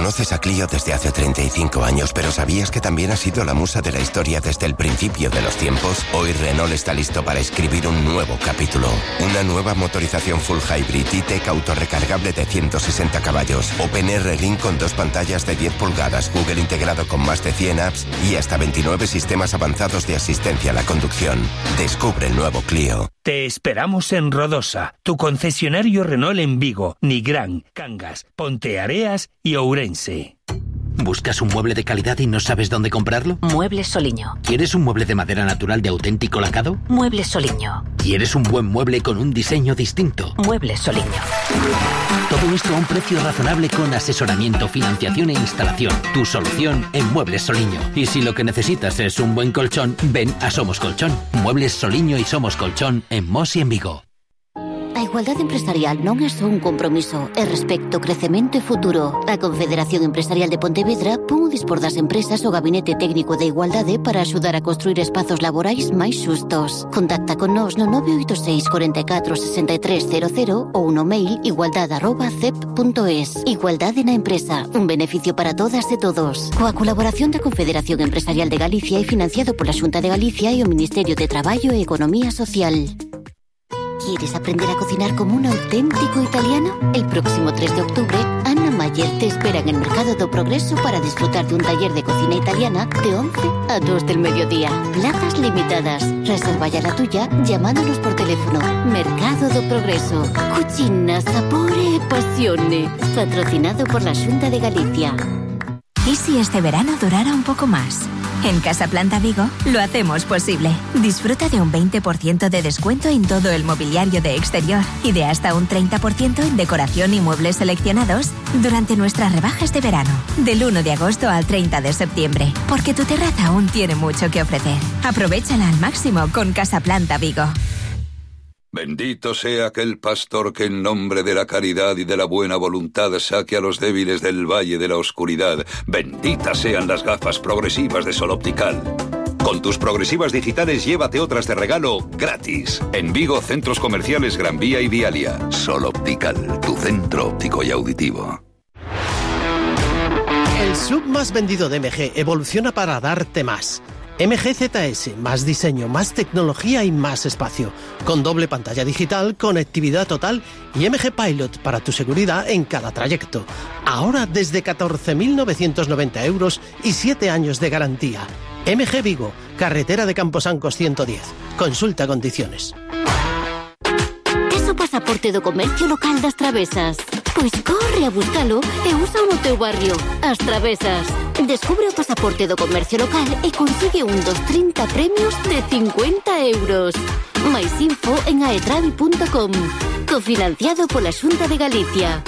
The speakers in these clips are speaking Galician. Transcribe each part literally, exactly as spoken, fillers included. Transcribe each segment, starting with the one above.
Conoces a Clio desde hace treinta y cinco años, pero ¿sabías que también ha sido la musa de la historia desde el principio de los tiempos? Hoy Renault está listo para escribir un nuevo capítulo. Una nueva motorización full hybrid E-Tech autorrecargable de ciento sesenta caballos. OpenR Link con dos pantallas de diez pulgadas, Google integrado con más de cien apps y hasta veintinueve sistemas avanzados de asistencia a la conducción. Descubre el nuevo Clio. Te esperamos en Rodosa, tu concesionario Renault en Vigo, Nigrán, Cangas, Ponteareas y Ourense. ¿Buscas un mueble de calidad y no sabes dónde comprarlo? Muebles Soliño. ¿Quieres un mueble de madera natural de auténtico lacado? Muebles Soliño. ¿Quieres un buen mueble con un diseño distinto? Muebles Soliño. Todo esto a un precio razonable con asesoramiento, financiación e instalación. Tu solución en Muebles Soliño. Y si lo que necesitas es un buen colchón, ven a Somos Colchón. Muebles Soliño y Somos Colchón en Mos y en Vigo. A igualdade empresarial non é só un compromiso, é respecto, crecemento e futuro. A Confederación Empresarial de Pontevedra pon o dispor das empresas o Gabinete Técnico de Igualdade para axudar a construir espazos laborais máis xustos. Contacta con nós no nove oito seis, catro catro, seis tres cero cero ou no mail igualdade arroba cep punto es. Igualdade na empresa, un beneficio para todas e todos. Coa colaboración da Confederación Empresarial de Galicia e financiado pola Xunta de Galicia e o Ministerio de Traballo e Economía Social. ¿Quieres aprender a cocinar como un auténtico italiano? El próximo tres de octubre, Ana Mayer te espera en el Mercado do Progreso para disfrutar de un taller de cocina italiana de once a dos del mediodía. Plazas limitadas. Reserva ya la tuya llamándonos por teléfono. Mercado do Progreso. Cucina, sapore e pasione. Patrocinado por la Xunta de Galicia. ¿Y si este verano durara un poco más? En Casa Planta Vigo lo hacemos posible. Disfruta de un veinte por ciento de descuento en todo el mobiliario de exterior y de hasta un treinta por ciento en decoración y muebles seleccionados durante nuestras rebajas de verano, del uno de agosto al treinta de septiembre, porque tu terraza aún tiene mucho que ofrecer. Aprovéchala al máximo con Casa Planta Vigo. Bendito sea aquel pastor que en nombre de la caridad y de la buena voluntad saque a los débiles del valle de la oscuridad. Benditas sean las gafas progresivas de Sol Optical. Con tus progresivas digitales llévate otras de regalo gratis. En Vigo, centros comerciales Gran Vía y Vialia. Sol Optical, tu centro óptico y auditivo. El sub más vendido de M G evoluciona para darte más. M G Z S, más diseño, más tecnología y más espacio, con doble pantalla digital, conectividad total y M G Pilot para tu seguridad en cada trayecto. Ahora desde catorce mil novecientos noventa euros y siete años de garantía. M G Vigo, carretera de Camposancos ciento diez. Consulta condiciones. Tes o pasaporte do comercio local das Travesas? Pois corre a buscalo e usa no teu barrio. As Travesas. Descubre o pasaporte do comercio local e consigue un dos trinta premios de cincuenta euros. Mais info en aetravi punto com. Cofinanciado pola Xunta de Galicia.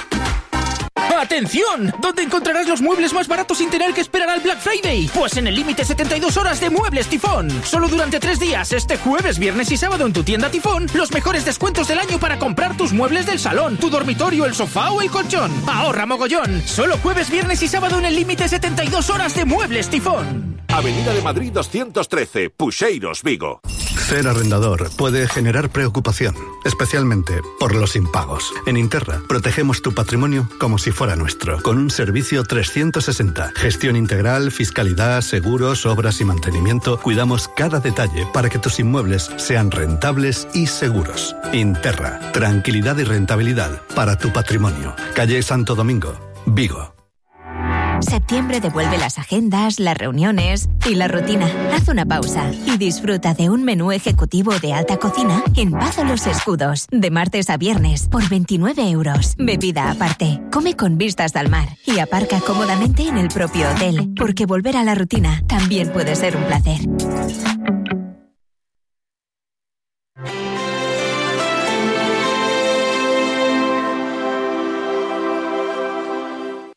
¡Atención! ¿Dónde encontrarás los muebles más baratos sin tener que esperar al Black Friday? Pues en el límite setenta y dos horas de Muebles Tifón. Solo durante tres días, este jueves, viernes y sábado en tu tienda Tifón, los mejores descuentos del año para comprar tus muebles del salón, tu dormitorio, el sofá o el colchón. ¡Ahorra mogollón! Solo jueves, viernes y sábado en el límite setenta y dos horas de Muebles Tifón. Avenida de Madrid doscientos trece, Puxeiros, Vigo. Ser arrendador puede generar preocupación, especialmente por los impagos. En Interra protegemos tu patrimonio como si fuera nuestro, con un servicio trescientos sesenta. Gestión integral, fiscalidad, seguros, obras y mantenimiento. Cuidamos cada detalle para que tus inmuebles sean rentables y seguros. Interra, tranquilidad y rentabilidad para tu patrimonio. Calle Santo Domingo, Vigo. Septiembre devuelve las agendas, las reuniones y la rutina. Haz una pausa y disfruta de un menú ejecutivo de alta cocina en Pazo Los Escudos, de martes a viernes, por veintinueve euros. Bebida aparte. Come con vistas al mar y aparca cómodamente en el propio hotel, porque volver a la rutina también puede ser un placer.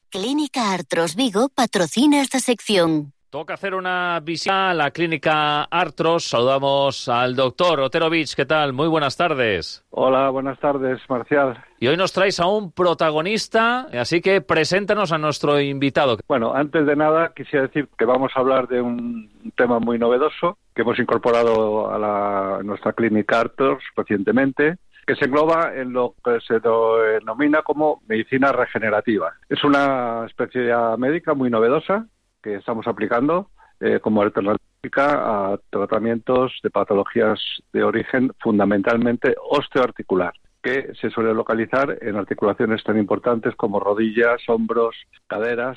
Clínica Artros Vigo patrocina esta sección. Toca hacer una visita a la Clínica Artros. Saludamos al doctor Otero Vich. ¿Qué tal? Muy buenas tardes. Hola, buenas tardes, Marcial. Y hoy nos traes a un protagonista, así que preséntanos a nuestro invitado. Bueno, antes de nada quisiera decir que vamos a hablar de un tema muy novedoso que hemos incorporado a, la, a nuestra Clínica Artros recientemente. que se engloba en lo que se denomina como medicina regenerativa. Es una especialidad médica muy novedosa que estamos aplicando eh, como alternativa a tratamientos de patologías de origen fundamentalmente osteoarticular, que se suele localizar en articulaciones tan importantes como rodillas, hombros, caderas,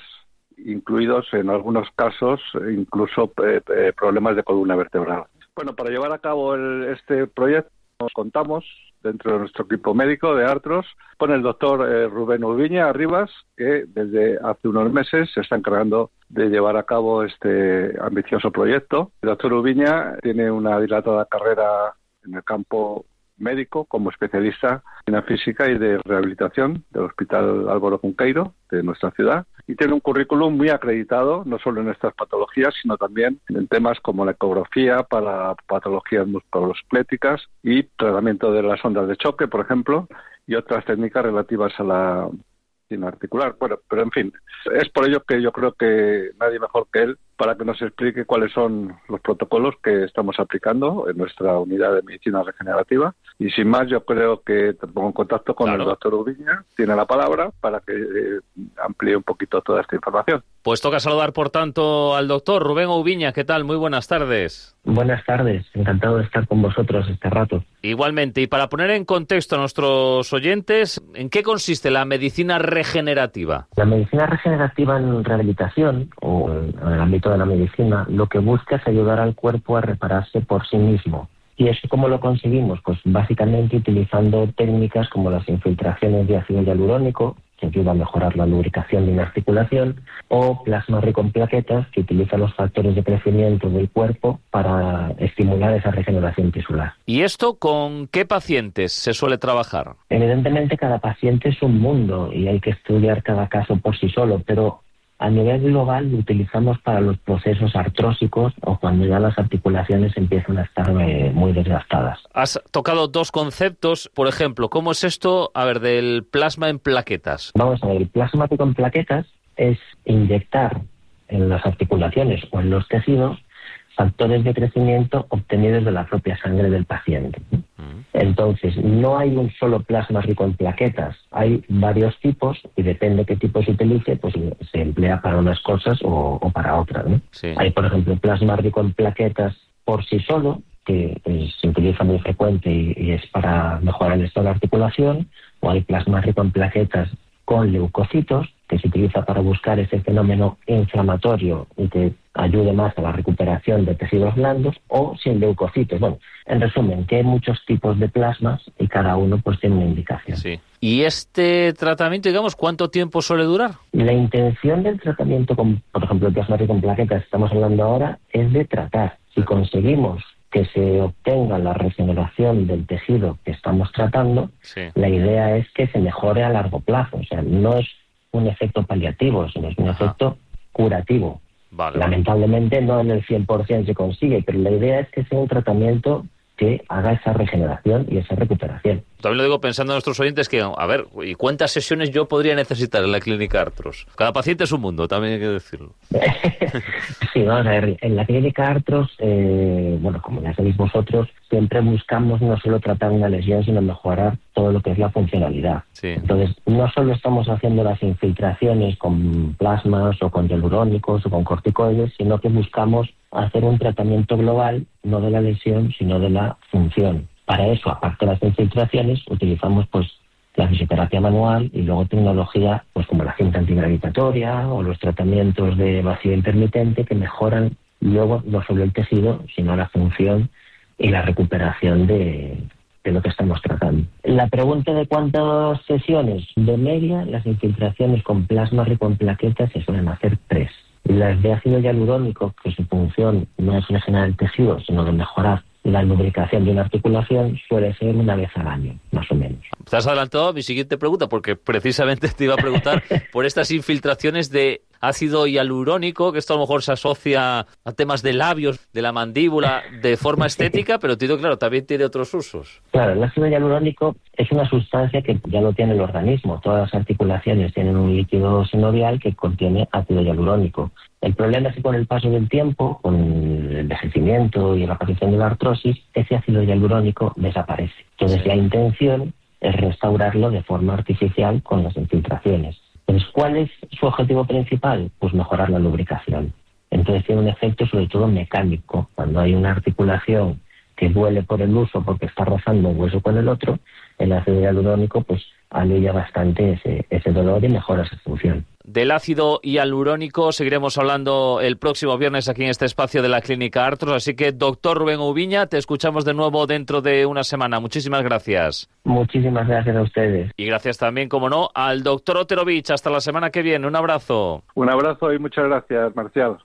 incluidos en algunos casos incluso eh, eh, problemas de columna vertebral. Bueno, para llevar a cabo el, este proyecto nos contamos dentro de nuestro equipo médico de Artros con el doctor eh, Rubén Ubiña Arribas, que desde hace unos meses se está encargando de llevar a cabo este ambicioso proyecto. El doctor Ubiña tiene una dilatada carrera en el campo médico como especialista en física y de rehabilitación del Hospital Álvaro Cunqueiro de nuestra ciudad, y tiene un currículum muy acreditado no solo en estas patologías sino también en temas como la ecografía para patologías musculoesqueléticas y tratamiento de las ondas de choque, por ejemplo, y otras técnicas relativas a la medicina articular. Bueno, pero en fin, es por ello que yo creo que nadie mejor que él para que nos explique cuáles son los protocolos que estamos aplicando en nuestra unidad de medicina regenerativa. Y sin más, yo creo que te pongo en contacto con claro. el doctor Ubiña, tiene la palabra para que eh, amplíe un poquito toda esta información. Pues toca saludar, por tanto, al doctor Rubén Ubiña. ¿Qué tal? Muy buenas tardes. Buenas tardes, encantado de estar con vosotros este rato. Igualmente, y para poner en contexto a nuestros oyentes, ¿en qué consiste la medicina regenerativa? La medicina regenerativa en rehabilitación, o en el ámbito de la medicina, lo que busca es ayudar al cuerpo a repararse por sí mismo. ¿Y eso cómo lo conseguimos? Pues básicamente utilizando técnicas como las infiltraciones de ácido hialurónico, que ayuda a mejorar la lubricación de una articulación, o plasma rico en plaquetas, que utiliza los factores de crecimiento del cuerpo para estimular esa regeneración tisular. ¿Y esto con qué pacientes se suele trabajar? Evidentemente cada paciente es un mundo y hay que estudiar cada caso por sí solo, pero a nivel global lo utilizamos para los procesos artrósicos o cuando ya las articulaciones empiezan a estar eh, muy desgastadas. Has tocado dos conceptos, por ejemplo, ¿cómo es esto, a ver, del plasma en plaquetas? Vamos a ver, el plasma rico en plaquetas es inyectar en las articulaciones o en los tejidos factores de crecimiento obtenidos de la propia sangre del paciente. Entonces, no hay un solo plasma rico en plaquetas, hay varios tipos y depende qué tipo se utilice, pues se emplea para unas cosas o, o para otras, ¿no? Sí. Hay, por ejemplo, plasma rico en plaquetas por sí solo, que pues, se utiliza muy frecuente y, y es para mejorar el estado de la articulación, o hay plasma rico en plaquetas con leucocitos, que se utiliza para buscar ese fenómeno inflamatorio y que ayude más a la recuperación de tejidos blandos, o sin leucocitos. Bueno, en resumen, que hay muchos tipos de plasmas y cada uno pues tiene una indicación. Sí. ¿Y este tratamiento, digamos, cuánto tiempo suele durar? La intención del tratamiento con, por ejemplo, el plasma rico en plaquetas que estamos hablando ahora, es de tratar. Si conseguimos que se obtenga la regeneración del tejido que estamos tratando, sí. La idea es que se mejore a largo plazo. O sea, no es un efecto paliativo, sino es un Ajá. efecto curativo. Vale. Lamentablemente no en el cien por ciento se consigue, pero la idea es que sea un tratamiento que haga esa regeneración y esa recuperación. También lo digo pensando en nuestros oyentes que, a ver, ¿y cuántas sesiones yo podría necesitar en la clínica Artros? Cada paciente es un mundo, también hay que decirlo. Sí, vamos a ver, en la clínica Artros, eh, bueno, como ya sabéis vosotros, siempre buscamos no solo tratar una lesión, sino mejorar todo lo que es la funcionalidad. Sí. Entonces, no solo estamos haciendo las infiltraciones con plasmas o con hialurónicos o con corticoides, sino que buscamos hacer un tratamiento global, no de la lesión, sino de la función. Para eso, aparte de las infiltraciones, utilizamos pues la fisioterapia manual y luego tecnología pues como la cinta antigravitatoria o los tratamientos de vacío intermitente que mejoran luego no solo el tejido, sino la función y la recuperación de, de lo que estamos tratando. La pregunta de cuántas sesiones, de media, las infiltraciones con plasma rico en plaquetas se suelen hacer tres. Las de ácido hialurónico, que su función no es regenerar el tejido, sino de mejorar la lubricación de una articulación, suele ser una vez al año, más o menos. Te has adelantado a mi siguiente pregunta, porque precisamente te iba a preguntar por estas infiltraciones de ácido hialurónico, que esto a lo mejor se asocia a temas de labios, de la mandíbula, de forma estética, pero tío, claro, también tiene otros usos. Claro, el ácido hialurónico es una sustancia que ya lo tiene el organismo. Todas las articulaciones tienen un líquido sinovial que contiene ácido hialurónico. El problema es que con el paso del tiempo, con envejecimiento y la aparición de la artrosis, ese ácido hialurónico desaparece. Entonces, sí. La intención es restaurarlo de forma artificial con las infiltraciones. Entonces, ¿cuál es su objetivo principal? Pues mejorar la lubricación. Entonces tiene un efecto sobre todo mecánico. Cuando hay una articulación que duele por el uso porque está rozando un hueso con el otro, el ácido hialurónico pues alivia bastante ese, ese dolor y mejora esa función. Del ácido hialurónico seguiremos hablando el próximo viernes aquí en este espacio de la Clínica Artros, así que doctor Rubén Ubiña, te escuchamos de nuevo dentro de una semana. Muchísimas gracias. Muchísimas gracias a ustedes. Y gracias también, como no, al doctor Oterovich. Hasta la semana que viene. Un abrazo. Un abrazo y muchas gracias, Marcial.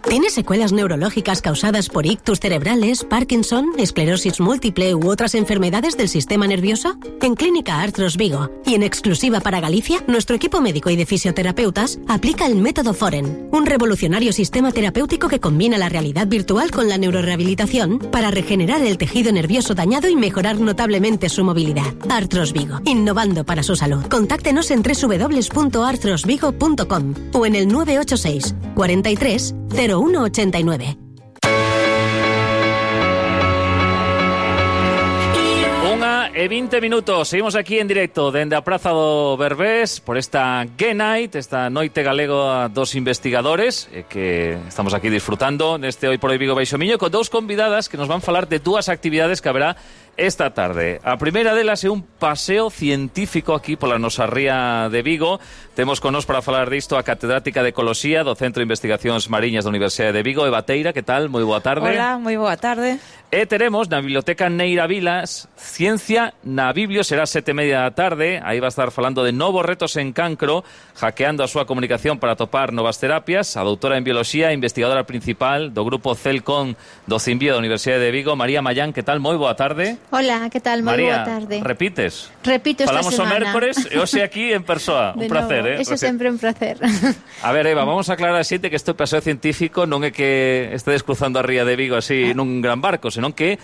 ¿Tienes secuelas neurológicas causadas por ictus cerebrales, Parkinson, esclerosis múltiple u otras enfermedades del sistema nervioso? En Clínica Artros Vigo y en exclusiva para Galicia, nuestro equipo médico y de fisioterapeutas aplica el método Foren, un revolucionario sistema terapéutico que combina la realidad virtual con la neurorehabilitación para regenerar el tejido nervioso dañado y mejorar notablemente su movilidad. Artros Vigo, innovando para su salud. Contáctenos en doble u doble u doble u punto artros vigo punto com o en el nueve ocho seis, cuarenta y tres, cero uno ochenta y nueve. Unha e vinte minutos. Seguimos aquí en directo dende a Praza do Berbés por esta Gay Night, esta noite galega dos investigadores eh, que estamos aquí disfrutando neste Hoy por Hoy Vigo Baixo Miño con dous convidadas que nos van falar de dúas actividades que haberá esta tarde. A primeira delas é un paseo científico aquí pola nosa ría de Vigo. Temos con nos para falar disto a catedrática de Ecoloxía do Centro de Investigacións Mariñas da Universidade de Vigo, Eva Teira. Que tal? Moi boa tarde. Hola, moi boa tarde. E teremos na Biblioteca Neira Vilas Ciencia na Biblio, será sete e media da tarde. Aí va a estar falando de novos retos en cancro, hackeando a súa comunicación para atopar novas terapias. A doutora en Bioloxía, investigadora principal do grupo Celcon do Cimbio da Universidade de Vigo, María Mayán. Que tal? Moi boa tarde. Hola, que tal? Moi María, boa tarde. repites? Repito esta Falamos semana. Falamos o mércores e hoxe aquí en persoa. Un placer, eh? Eso sempre un placer. A ver, Eva, vamos a aclarar a xente que este paseo científico non é que estedes cruzando a ría de Vigo así nun gran barco, senón que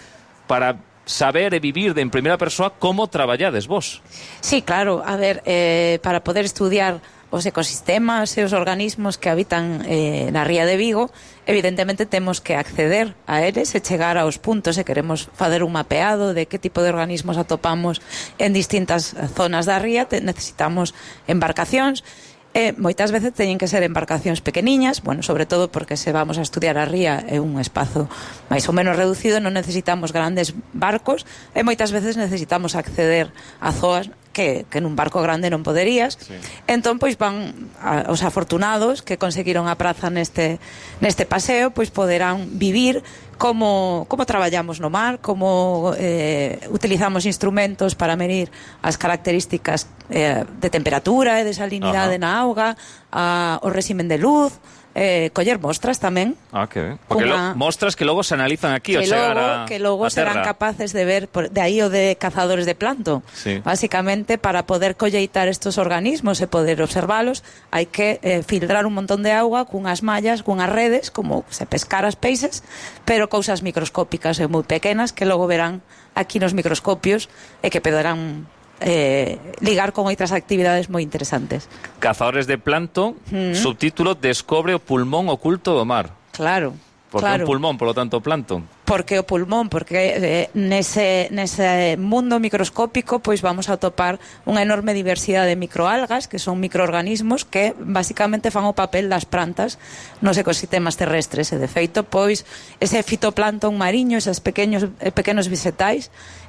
para saber e vivir de en primeira persoa como traballades vos. Sí, claro. A ver, eh, para poder estudiar os ecosistemas e os organismos que habitan eh, na ría de Vigo, evidentemente temos que acceder a eles e chegar aos puntos e queremos fazer un mapeado de que tipo de organismos atopamos en distintas zonas da ría. Te, necesitamos embarcacións. E moitas veces teñen que ser embarcacións pequeniñas, bueno, sobre todo porque se vamos a estudiar a ría é un espazo máis ou menos reducido, non necesitamos grandes barcos e moitas veces necesitamos acceder a zoas que, que nun barco grande non poderías. Sí. Entón, pois van a, os afortunados que conseguiron a praza neste, neste paseo, pois poderán vivir como, como traballamos no mar, como eh, utilizamos instrumentos para medir as características eh, de temperatura e de salinidade na auga, a, o réximen de luz, eh, coller mostras tamén. Ah, que ben. Porque Una... lo, mostras que logo se analizan aquí que ao chegar logo, a que logo a serán terra. capaces de ver, por, de aí o de cazadores de plancton. Sí. Básicamente, para poder colleitar estos organismos e poder observalos, hai que eh, filtrar un montón de auga cunhas mallas, cunhas redes, como se pescar as peixes, pero cousas microscópicas e moi pequenas que logo verán aquí nos microscopios e que poderán Eh, ligar con outras actividades moi interesantes. Cazadores de plancton, mm. subtítulo Descobre o pulmón oculto do mar. Claro. Porque claro. un pulmón, polo tanto, plancton. Porque o pulmón, porque eh, nese, nese mundo microscópico pois vamos a atopar unha enorme diversidade de microalgas, que son microorganismos que basicamente fan o papel das plantas nos ecosistemas terrestres, e de feito, pois ese fitoplancton mariño, esos pequenos, pequenos vegetais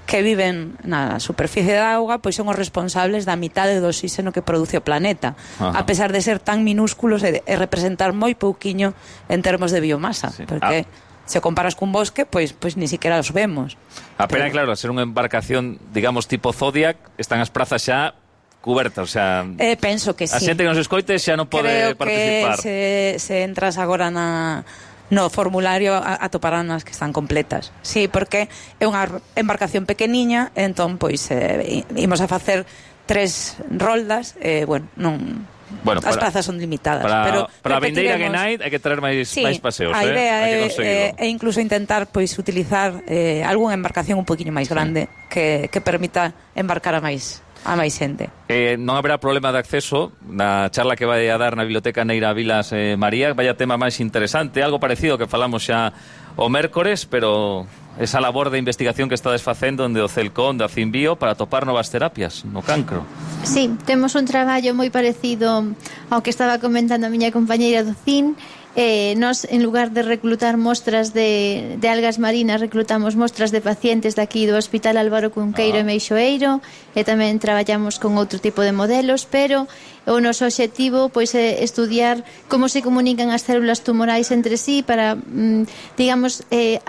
que viven na superficie da auga, pois son os responsables da mitade do oxígeno que produce o planeta. Ajá. A pesar de ser tan minúsculos e, e representar moi pouquiño en termos de biomasa, sí. Porque ah. se comparas cun bosque, pois pois ni siquiera os vemos. A pena, pero... claro, ser unha embarcación, digamos, tipo Zodiac, están as prazas xa cubertas, o sea... Eh, penso que sí. A xente que nos escoite xa non pode Creo participar. Creo que se, se entras agora na... no formulario atoparán as que están completas. Sí, porque é unha embarcación pequeniña, entón, pois, eh, imos a facer tres roldas, e, eh, bueno, non... Bueno, as para, plazas son limitadas, para, pero para a vindeira repetiremos... Gay Night hai que traer máis, sí, máis paseos, a idea eh? é, é, é incluso intentar pois utilizar eh, algunha embarcación un poquinho máis grande, sí. que, que permita embarcar a máis a máis xente. Eh, non haberá problema de acceso na charla que vai a dar na Biblioteca Neira Vilas eh, María. Vaya tema máis interesante, algo parecido que falamos xa o mércores, pero esa labor de investigación que estades facendo onde o Celcón da Cimbio para topar novas terapias no cancro. Sí, temos un traballo moi parecido ao que estaba comentando a miña compañeira do C I N. Eh, nos, en lugar de reclutar mostras de, de algas marinas, reclutamos mostras de pacientes daqui do Hospital Álvaro Cunqueiro ah. e Meixoeiro, e tamén traballamos con outro tipo de modelos, pero o noso obxectivo pois é estudiar como se comunican as células tumorais entre sí para, mm, digamos, eh,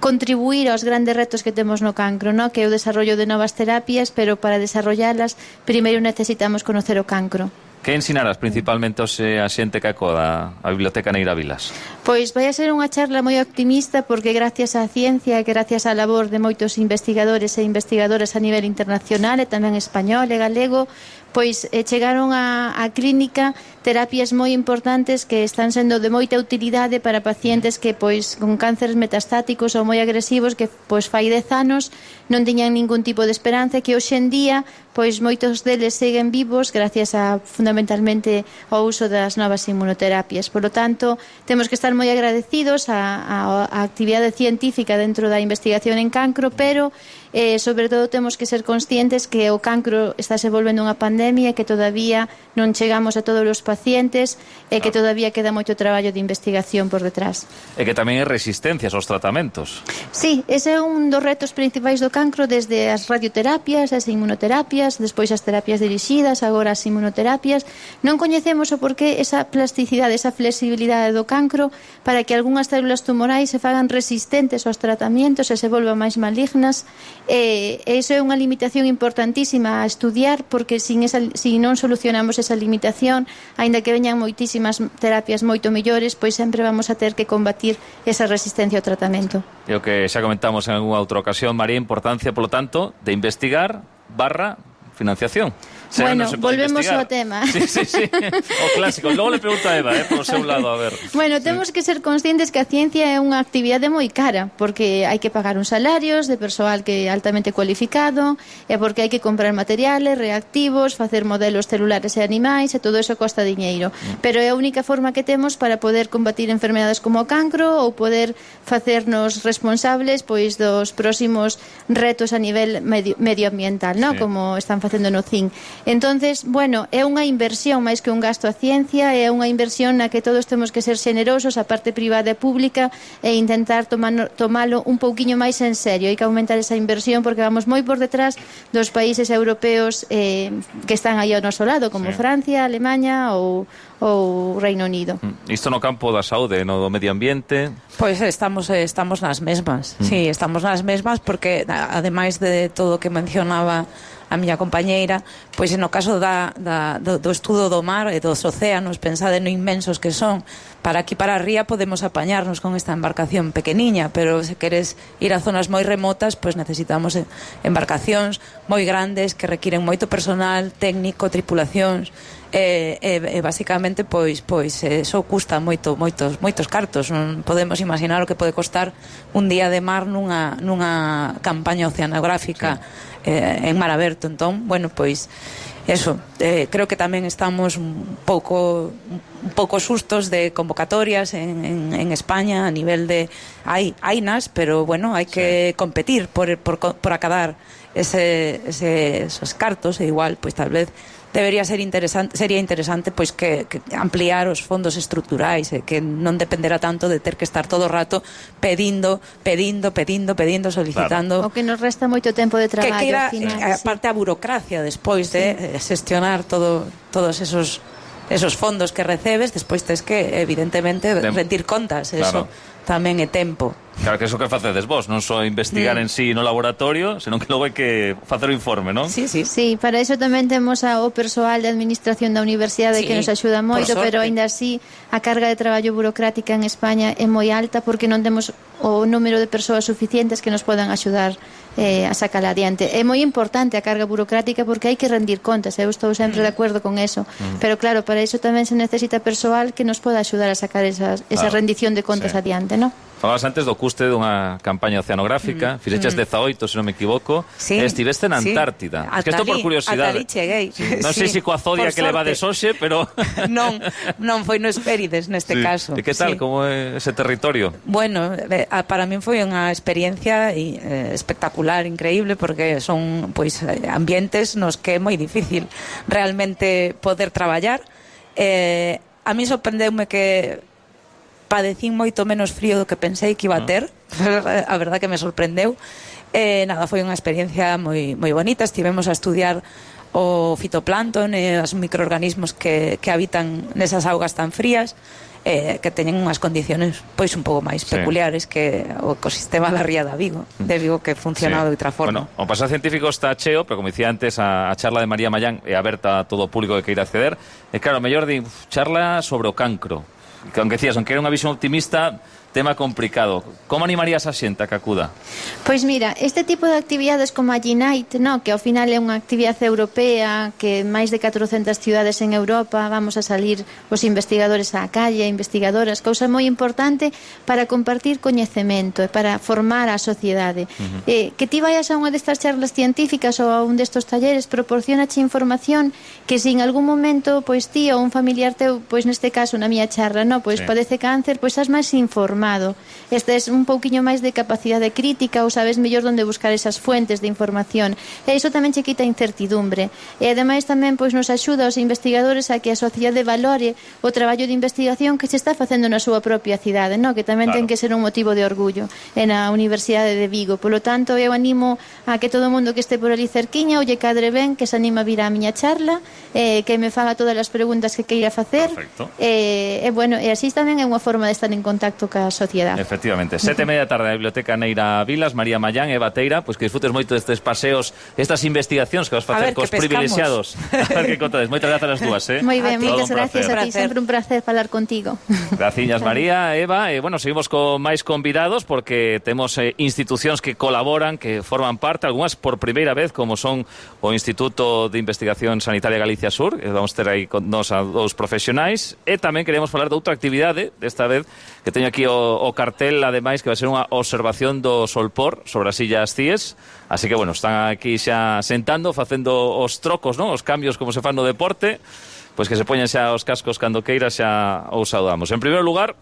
contribuir aos grandes retos que temos no cancro, no? Que é o desarrollo de novas terapias, pero para desarrollarlas primeiro necesitamos conocer o cancro. Que ensinarás principalmente aos a xente que acoda a Biblioteca Neira Vilas? Pois vai a ser unha charla moi optimista porque gracias á ciencia e gracias á labor de moitos investigadores e investigadoras a nivel internacional e tamén español e galego, pois eh, chegaron a, a clínica terapias moi importantes que están sendo de moita utilidade para pacientes que pois con cánceres metastáticos ou moi agresivos que pois fai dez anos non tiñan ningún tipo de esperanza, que hoxe en día pois moitos deles seguen vivos gracias a fundamentalmente ao uso das novas inmunoterapias. Por lo tanto, temos que estar moi agradecidos á, á, á actividade científica dentro da investigación en cancro, pero eh, sobre todo temos que ser conscientes que o cancro está se volvendo unha pandemia e que todavía non chegamos a todos os pacientes e que todavía queda moito traballo de investigación por detrás. E que tamén hai resistencias aos tratamentos. Sí, ese é un dos retos principais do cancro, desde as radioterapias, as inmunoterapias, despois as terapias dirixidas, agora as inmunoterapias. Non coñecemos o porqué esa plasticidade, esa flexibilidade do cancro para que algunhas células tumorais se fagan resistentes aos tratamentos e se volvan máis malignas. E iso é unha limitación importantísima a estudiar, porque sin esa, si non solucionamos esa limitación, aínda que veñan moitísimas terapias moito mellores, pois sempre vamos a ter que combatir esa resistencia ao tratamento. E o que xa comentamos en algunha outra ocasión, María, importancia, polo tanto, de investigar barra financiación. Se bueno, no volvemos investigar. ao tema. Sí, sí, sí. O clásico. Logo le pregunta a Eva, eh, por seu lado, a ver. Bueno, temos que ser conscientes que a ciencia é unha actividade moi cara, porque hai que pagar uns salarios de persoal que é altamente cualificado, e porque hai que comprar materiales, reactivos, facer modelos celulares e animais, e todo eso costa diñeiro. Mm. Pero é a única forma que temos para poder combatir enfermedades como o cancro ou poder facernos responsables pois dos próximos retos a nivel medio, medioambiental, ¿no? Sí. Como están facendo no C I N. Entonces, bueno, é unha inversión máis que un gasto a ciencia, é unha inversión na que todos temos que ser xenerosos, a parte privada e pública, e intentar tomar, tomalo un pouquiño máis en serio. Hai que aumentar esa inversión porque vamos moi por detrás dos países europeos eh, que están aí ao noso lado, como sí. Francia, Alemanha ou ou Reino Unido. Isto no campo da saúde, no do medio ambiente? Pois estamos estamos nas mesmas. Mm. Sí, estamos nas mesmas porque ademais de todo o que mencionaba a miña compañeira, pois no caso da, da, do, do estudo do mar e dos océanos, pensade no inmensos que son. Para aquí para a ría podemos apañarnos con esta embarcación pequeniña, pero se queres ir a zonas moi remotas, pois necesitamos embarcacións moi grandes que requiren moito personal técnico, tripulacións, e, e, e basicamente pois pois eso custa moito moitos moitos cartos. Non podemos imaginar o que pode costar un día de mar nunha nunha campaña oceanográfica. Sí. Eh, en mar aberto. Entón, bueno, pois eso, eh, creo que tamén estamos un pouco un pouco sustos de convocatorias en, en, en España a nivel de hai hainas, pero bueno, hai que sí. competir por, por, por acadar ese, ese, esos cartos, e igual, pois tal vez debería ser interesante, sería interesante pois que, que ampliar os fondos estruturais e que non dependerá tanto de ter que estar todo o rato pedindo, pedindo, pedindo, pedindo, solicitando. Claro. O que nos resta moito tempo de traballo. Que, que era, final, a parte sí. a burocracia despois de sí. xestionar todo, todos esos esos fondos que recebes, despois tes que evidentemente Tem rendir contas, eso claro. tamén é tempo. Claro, que eso que facedes vos, non só investigar mm. en sí no laboratorio, senón que logo hai que facer o informe, non? Sí, sí. Sí, para iso tamén temos ao persoal de administración da universidade sí, que nos axuda moito, pero aínda así a carga de traballo burocrática en España é moi alta porque non temos o número de persoas suficientes que nos podan axudar eh, a sacar adiante. É moi importante a carga burocrática porque hai que rendir contas, eu estou sempre mm. de acordo con eso, mm. pero claro, para iso tamén se necesita persoal que nos poda axudar a sacar esas, esa claro. rendición de contas sí. adiante, non? Falabas antes do custe dunha campaña oceanográfica, mm. fixeches mm. dezaoito, se non me equivoco, sí, e estiveste na Antártida. Sí. Que isto por curiosidade. Ata ali cheguei. Sí. Non sei sí. se coa zodia que levades hoxe, pero... non, non foi no Hespérides neste sí. caso. E que tal, sí. como é ese territorio? Bueno, para min foi unha experiencia eh, espectacular, increíble, porque son pois ambientes nos que é moi difícil realmente poder traballar. Eh, a mí sorprendeume que padecín moito menos frío do que pensei que iba a ter. A verdad que me sorprendeu. Eh, nada, foi unha experiencia moi, moi bonita. Estivemos a estudiar o fitoplancton e os microorganismos que, que habitan nesas augas tan frías, eh, que teñen unhas condiciones pois un pouco máis sí. peculiares que o ecosistema da ría da Vigo, de Vigo, que funciona sí. de outra forma. Bueno, o pasado científico está cheo, pero como dicía antes, a, a charla de María Mallán é aberta a todo o público que queira acceder. E claro, mellor di, charla sobre o cancro. Que aunque decías, aunque era unha visión optimista, tema complicado. Como animarías a xente a que acuda? Pois mira, este tipo de actividades como a Unite, no, que ao final é unha actividade europea, que máis de catrocentas ciudades en Europa vamos a salir os investigadores á calle, investigadoras, cousa moi importante para compartir coñecemento e para formar a sociedade. Uh-huh. Eh, que ti vayas a unha destas charlas científicas ou a un destos talleres proporcionache información que se en algún momento pois ti ou un familiar teu, pois neste caso na miña charla, no, pois sí. padece cáncer, pois estás máis informado. Este es un pouquiño máis de capacidade crítica ou sabes mellor onde buscar esas fuentes de información. E iso tamén che quita incertidumbre. E ademais tamén pois nos axuda aos investigadores a que a sociedade valore o traballo de investigación que se está facendo na súa propia cidade, no? Que tamén claro. ten que ser un motivo de orgullo en a Universidade de Vigo. Polo tanto, eu animo a que todo o mundo que este por ali cerquiña ou lle cadre ben, que se anima a vir á miña charla, eh, que me faga todas as preguntas que queira facer. Perfecto. E eh, eh, bueno, e así tamén é unha forma de estar en contacto ca sociedade. Efectivamente, sete e media tarde na Biblioteca Neira Vilas. María Mallán, Eva Teira, pois que disfrutes moito destes paseos, estas investigacións que vas facer cos privilexiados. A ver que contades. Moitas grazas as dúas, eh? Moi ben, moitas gracias a ti, sempre un placer falar contigo. Graciñas, María, Eva. E, bueno, seguimos con máis convidados porque temos eh, institucións que colaboran, que forman parte, algunhas por primeira vez, como son o Instituto de Investigación Sanitaria Galicia Sur, que vamos ter aí con nos a dous profesionais, e tamén queremos falar de outra actividade, desta vez, que teño aquí o, o cartel, ademais, que vai ser unha observación do Solpor sobre as Illas Cíes. Así que, bueno, están aquí xa sentando, facendo os trocos, non? Os cambios como se fan no deporte, pois que se poñen xa os cascos cando queira, xa os saudamos. En primeiro lugar,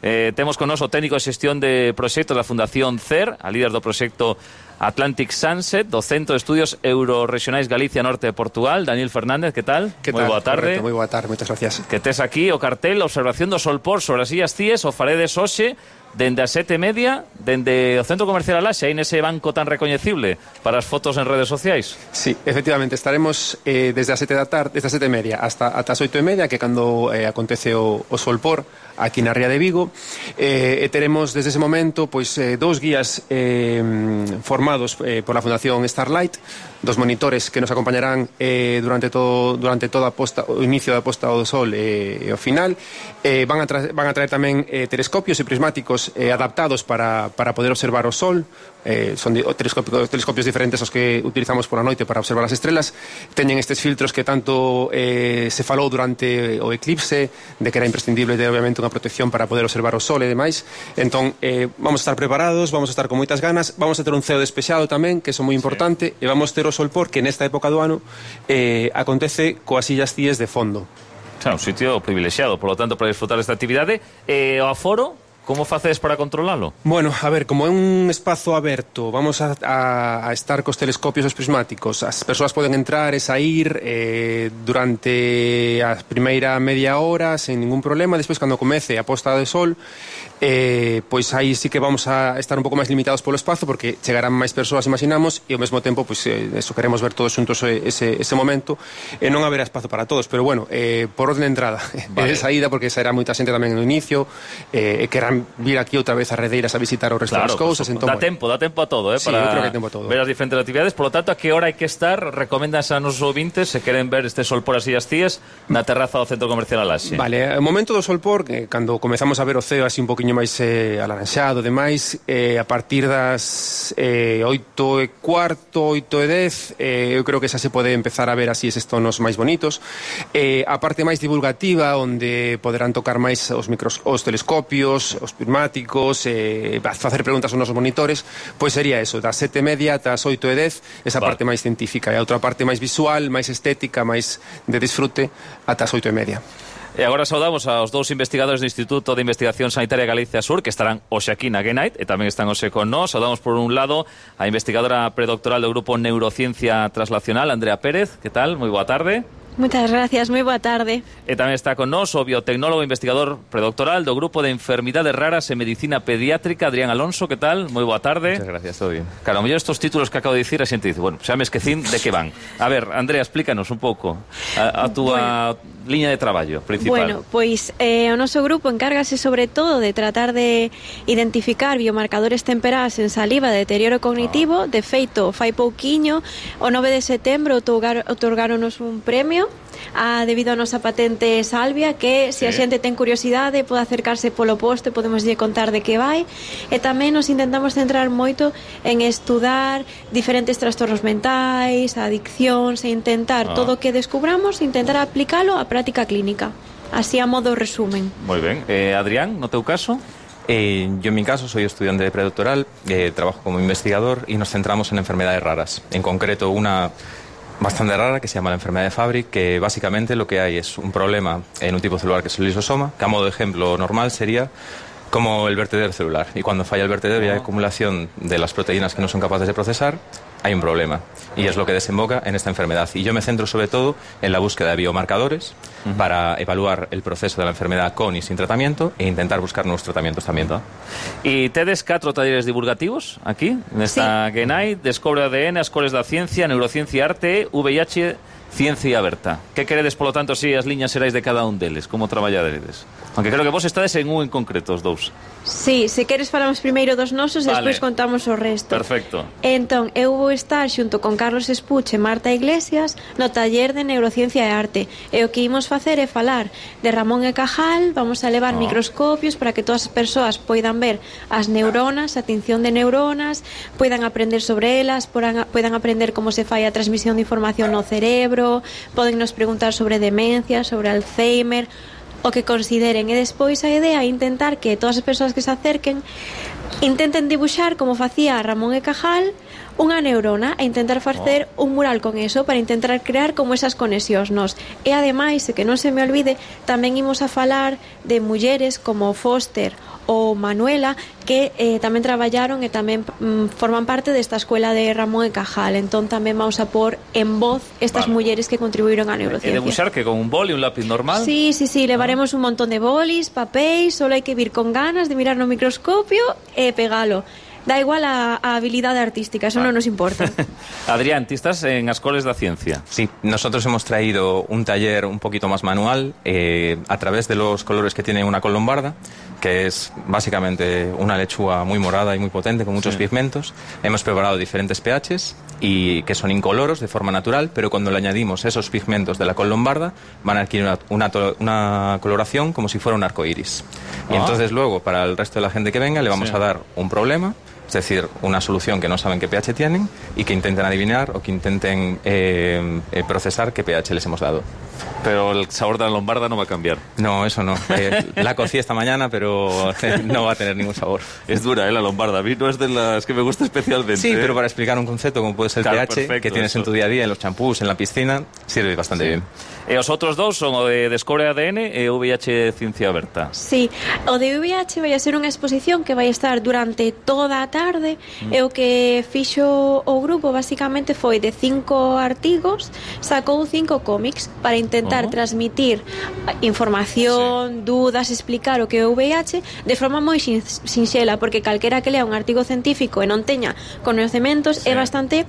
eh, temos con nos o técnico de xestión de proxectos da Fundación C E R, a líder do proxecto Atlantic Sunset, do Centro de Estudios Eurorregionais Galicia Norte de Portugal, Daniel Fernández, que tal? Que moi tal? boa tarde. Moi boa tarde, moitas gracias. Que tes aquí o cartel, observación do Solpor sobre as Illas Cíes, o faredes hoxe, dende as sete e media, dende o Centro Comercial Alaxe, aí nese banco tan recoñecible para as fotos en redes sociais. Sí, efectivamente, estaremos eh, desde as sete da tarde, desde as sete e media hasta ata as oito e media, que cando eh, acontece o, o Solpor aquí na Ría de Vigo, eh, e teremos desde ese momento pois eh, dous guías eh, formados eh, por la Fundación Starlight, dos monitores que nos acompañarán eh, durante todo durante toda a posta, o inicio da posta do sol e, e o final. Eh, van, a tra van a traer tamén eh, telescopios e prismáticos eh, adaptados para, para poder observar o sol. Eh, son telescopios, telescopios diferentes aos que utilizamos por a noite para observar as estrelas. Teñen estes filtros que tanto eh, se falou durante o eclipse, de que era imprescindible ter obviamente unha protección para poder observar o sol e demais. Entón, eh, vamos a estar preparados, vamos a estar con moitas ganas, vamos a ter un ceo despexado tamén, que é moi importante, sí. E vamos ter o Solpor, que nesta época do ano eh, acontece coas Illas Cíes de fondo. Xa, un sitio privilexiado, por lo tanto, para disfrutar desta actividade. E o aforo, como facedes para controlalo? Bueno, a ver, como é un espazo aberto, vamos a, a, a estar cos telescopios e os prismáticos. As persoas poden entrar e sair eh, durante a primeira media hora sen ningún problema. Despois, cando comece a posta de sol, eh, pois aí sí que vamos a estar un pouco máis limitados polo espazo, porque chegarán máis persoas, imaginamos, e ao mesmo tempo, pois, eh, eso, queremos ver todos xuntos ese, ese momento, e non haberá espazo para todos. Pero bueno, eh, por orden de entrada vale. E de saída, porque sairá moita xente tamén no inicio, eh, e querrán vir aquí outra vez a Redeiras a visitar o resto claro, das cousas. Entón, dá tempo, dá tempo a todo, eh, sí, para eu creo que tempo a todo. Ver as diferentes actividades. Por lo tanto, a que hora hai que estar? Recomendas a nosos ouvintes, se queren ver este Solpor as Illas Cíes, na terraza do Centro Comercial Alaxe. Vale, o momento do Solpor, eh, cando comezamos a ver o ceo así un poquinho máis eh, alaranxado, demais, eh, a partir das eh, oito e cuarto, oito e dez, eh, eu creo que xa se pode empezar a ver así eses tonos máis bonitos. Eh, a parte máis divulgativa, onde poderán tocar máis os micros, os telescopios, os prismáticos, eh, facer preguntas aos nosos monitores, pois sería eso, das sete e media ata as oito e dez, esa vale. parte máis científica, e a outra parte máis visual, máis estética, máis de disfrute, ata as oito e media. E agora saudamos aos dous investigadores do Instituto de Investigación Sanitaria Galicia Sur que estarán hoxe aquí na Genite e tamén están hoxe con nós. Saudamos por un lado a investigadora predoctoral do Grupo Neurociencia Translacional, Andrea Pérez. Que tal? Moi boa tarde. Muchas gracias, moi boa tarde. E tamén está con nós o biotecnólogo e investigador predoctoral do Grupo de Enfermidades Raras e Medicina Pediátrica, Adrián Alonso. Que tal? Moi boa tarde. Muchas gracias, todo bien. Claro, a mellor estos títulos que acabo de dicir a xente dice, bueno, xa me esquecín de que van. A ver, Andrea, explícanos un pouco a, a túa bueno, liña de traballo principal. Bueno, pois eh, o noso grupo encárgase sobre todo de tratar de identificar biomarcadores temperás en saliva de deterioro cognitivo. De feito, fai pouquiño, o nove de setembro otorgaronos un premio a, debido a nosa patente Salvia, que se sí. a xente ten curiosidade pode acercarse polo posto e podemos lle contar de que vai. E tamén nos intentamos centrar moito en estudar diferentes trastornos mentais, adiccións, e intentar ah. todo o que descubramos, intentar aplicalo á práctica clínica, así a modo resumen. Moi ben. Eh, Adrián, no teu caso? Eh, yo en mi caso soy estudiante de predoctoral, eh, trabajo como investigador y nos centramos en enfermedades raras, en concreto una bastante rara que se llama la enfermedad de Fabry, que básicamente lo que hay es un problema en un tipo celular que es el lisosoma, que a modo de ejemplo normal sería como el vertedero celular, y cuando falla el vertedero y hay acumulación de las proteínas que no son capaces de procesar, hay un problema, y es lo que desemboca en esta enfermedad. Y yo me centro sobre todo en la búsqueda de biomarcadores uh-huh. para evaluar el proceso de la enfermedad con y sin tratamiento e intentar buscar nuevos tratamientos también. ¿no? Y tedes catro talleres divulgativos aquí, nesta sí. Genite, Descobre A D N, Escoles da Ciencia, Neurociencia e Arte, V I H, Ciencia Aberta. Que queredes, polo tanto, si as liñas xerais de cada un deles? Como traballadedes? Aunque creo que vos estades en un en concreto, os dous. Sí, se queres falamos primeiro dos nosos e vale. Despois contamos o resto. Perfecto. Entón, eu vou estar xunto con Carlos Espuche e Marta Iglesias no taller de Neurociencia e Arte. E o que imos facer é falar de Ramón e Cajal, vamos a levar oh. microscopios para que todas as persoas poidan ver as neuronas, a tinción de neuronas, poidan aprender sobre elas, poidan, poidan aprender como se fai a transmisión de información no cerebro, poden nos preguntar sobre demencia, sobre Alzheimer, o que consideren. E despois a idea é intentar que todas as persoas que se acerquen intenten dibuixar, como facía Ramón e Cajal, unha neurona e intentar facer oh. un mural con eso para intentar crear como esas conexións nos. E ademais, e que non se me olvide, tamén imos a falar de mulleres como Foster ou Manuela que eh, tamén traballaron e tamén mm, forman parte desta escuela de Ramón e Cajal. Entón tamén vamos a pôr en voz estas vale. mulleres que contribuíron á neurociencia. E debuxar que con un boli, un lápiz normal? Sí, sí, sí, levaremos ah. un montón de bolis, papéis, solo hai que vir con ganas de mirar no microscopio e pegalo. Da igual a, a habilidade artística, eso ah. non nos importa. Adrián, ti estás en Escoles da Ciencia. Sí, nosotros hemos traído un taller un poquito más manual eh, a través de los colores que tiene una col lombarda, que es básicamente una lechuga muy morada y muy potente con muchos sí. pigmentos. Hemos preparado diferentes pHs y que son incoloros de forma natural, pero cuando le añadimos esos pigmentos de la col lombarda van a adquirir una, una, una coloración como si fuera un arco iris. Ah. Y entonces luego para el resto de la gente que venga le vamos sí. a dar un problema, es decir, una solución que no saben qué pH tienen y que intenten adivinar o que intenten eh, eh, procesar qué pH les hemos dado. Pero el sabor de la lombarda no va a cambiar. No, eso no. Eh, la cocí esta mañana, pero no va a tener ningún sabor. Es dura, ¿eh? La lombarda. A mí no es de las que me gusta especialmente. Sí, ¿eh? pero para explicar un concepto como puede ser el claro, pH, perfecto, que tienes eso. en tu día a día, en los champús, en la piscina, sirve bastante sí. bien. E os outros dous son o de Descobre A D N e o V I H Ciencia Aberta. Sí, o de V I H vai a ser unha exposición que vai estar durante toda a tarde mm. e o que fixo o grupo basicamente foi de cinco artigos, sacou cinco cómics para intentar uh-huh. transmitir información, sí. dudas, explicar o que é o V I H de forma moi sin, sinxela, porque calquera que lea un artigo científico e non teña coñecementos sí. é bastante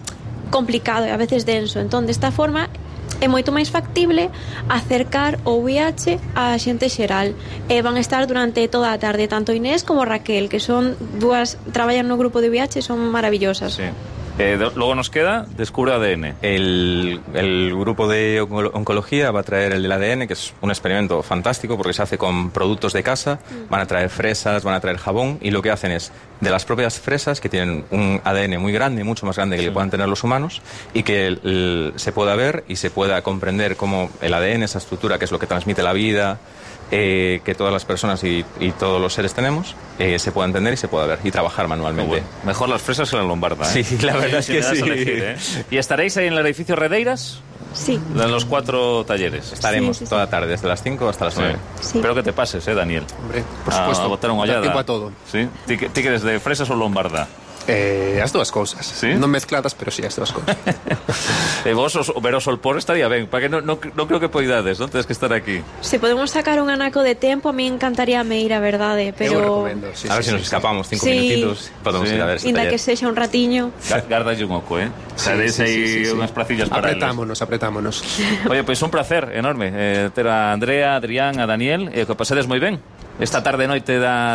complicado e a veces denso. Entón, desta forma é moito máis factible acercar o V I H á xente xeral e van estar durante toda a tarde tanto Inés como Raquel, que son dúas, traballan no grupo de V I H, son maravillosas. Sí. Eh, de, luego nos queda Descubre A D N. El, el grupo de oncología va a traer el del A D N, que es un experimento fantástico porque se hace con productos de casa. Van a traer fresas, van a traer jabón y lo que hacen es de las propias fresas, que tienen un A D N muy grande, mucho más grande que sí. le puedan tener los humanos, y que el, el, se pueda ver y se pueda comprender cómo el A D N, esa estructura que es lo que transmite la vida, eh, que todas las personas y, y todos los seres tenemos, eh, se pueda entender y se pueda ver y trabajar manualmente. Bueno, mejor las fresas que la lombarda, ¿eh? Sí, la verdad sí, es que si sí. Elegir, ¿eh? ¿Y estaréis ahí en el edificio Redeiras? Sí. En los cuatro talleres. Estaremos Sí, sí, sí. toda la tarde, desde las cinco hasta las nueve. Sí. Espero que te pases, ¿eh, Daniel? Hombre, por A- supuesto. A botar unha Dá ollada. tiempo a todo. Sí? Ti que ti que eres de fresas ou lombarda? Eh, as dúas cousas. ¿Sí? Non mezcladas, pero sí, as dúas cousas. E vos, os, ver o solpor estaría ben, para que non no, no creo que poidades, non? Tedes que estar aquí. Se podemos sacar un anaco de tempo, a mí encantaría me ir, a verdade, pero... sí, a ver sí, si nos sí, escapamos cinco Sí. minutitos, podemos Sí. ir a ver ese Inda taller. que sexa un ratiño. Gardalle un oco, ¿eh? Sí, Sabeis sí, aí sí, sí, sí. unhas placillas para eles. Apretámonos, apretámonos. Oye, pois pues un placer enorme eh, ter a Andrea, a Adrián, a Daniel, e eh, que pasedes moi ben. Esta tarde noite da